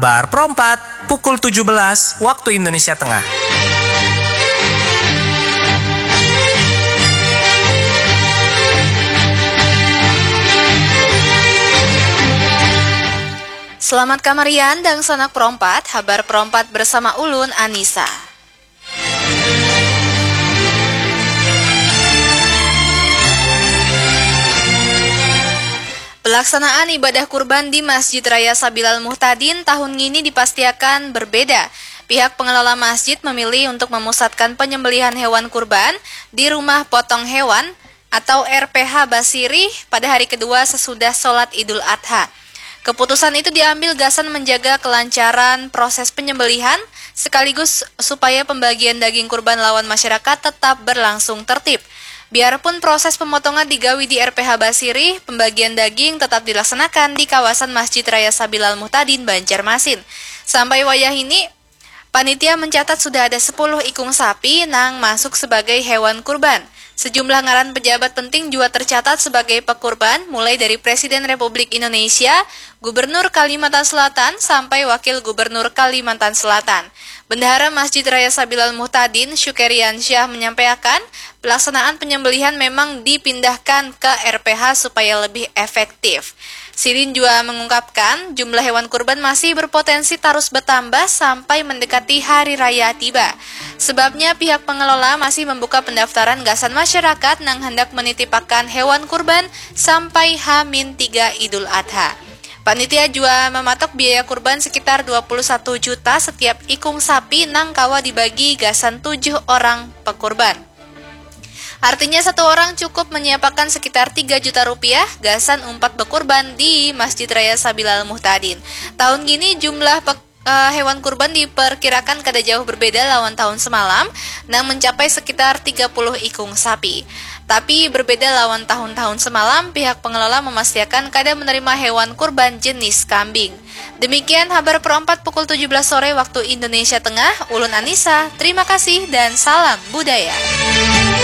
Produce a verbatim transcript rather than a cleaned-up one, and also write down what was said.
Bar perempat, pukul tujuh belas waktu Indonesia Tengah. Selamat kamarian, dangsanak perompat, habar perompat bersama ulun, Anissa. Pelaksanaan ibadah kurban di Masjid Raya Sabilal Muhtadin tahun ngini dipastiakan berbeda. Pihak pengelola masjid memilih untuk memusatkan penyembelihan hewan kurban di rumah potong hewan atau R P H Basirih pada hari kedua sesudah sholat Idul Adha. Keputusan itu diambil gasan menjaga kelancaran proses penyembelihan, sekaligus supaya pembagian daging kurban lawan masyarakat tetap berlangsung tertib. Biarpun proses pemotongan digawi di R P H Basirih, pembagian daging tetap dilaksanakan di kawasan Masjid Raya Sabilal Muhtadin, Banjarmasin. Sampai wayah ini, panitia mencatat sudah ada sepuluh ikung sapi nang masuk sebagai hewan kurban. Sejumlah ngaran pejabat penting juga tercatat sebagai pekurban, mulai dari Presiden Republik Indonesia, Gubernur Kalimantan Selatan, sampai Wakil Gubernur Kalimantan Selatan. Bendahara Masjid Raya Sabilal Muhtadin, Syukerian Syah, menyampaikan, pelaksanaan penyembelihan memang dipindahkan ke R P H supaya lebih efektif. Sidin juga mengungkapkan, jumlah hewan kurban masih berpotensi terus bertambah sampai mendekati hari raya tiba. Sebabnya, pihak pengelola masih membuka pendaftaran gasan masyarakat nang hendak menitipakan hewan kurban sampai Hamin tiga Idul Adha. Panitia juga mematok biaya kurban sekitar dua puluh satu juta setiap ikung sapi nang kawa dibagi gasan tujuh orang pekurban. Artinya, satu orang cukup menyiapakan sekitar tiga juta rupiah gasan umpat bekurban di Masjid Raya Sabilal Muhtadin. Tahun gini jumlah pek- eh, hewan kurban diperkirakan kada jauh berbeda lawan tahun semalam, nang mencapai sekitar tiga puluh ikung sapi. Tapi berbeda lawan tahun-tahun semalam, pihak pengelola memastikan kada menerima hewan kurban jenis kambing. Demikian habar perempat pukul tujuh belas sore waktu Indonesia Tengah, ulun Anissa, terima kasih dan salam budaya.